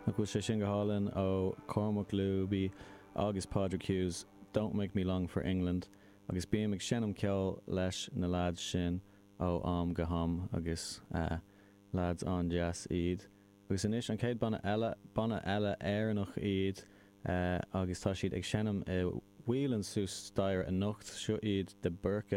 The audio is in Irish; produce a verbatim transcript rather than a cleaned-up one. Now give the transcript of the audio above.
Nach bhfuil sé sin go hálainn ó Cormac Luby agus Padraig Hughes, Don't Make Me Long for England, agus bím ag seinm ceol leis na lads sin ó am go ham agus uh, lads an-deas iad. Agus anois an chéad banna eile banna eile Éireannach iad uh, agus tá siad ag seinm i Whelan suas staighre anocht seo iad de Burca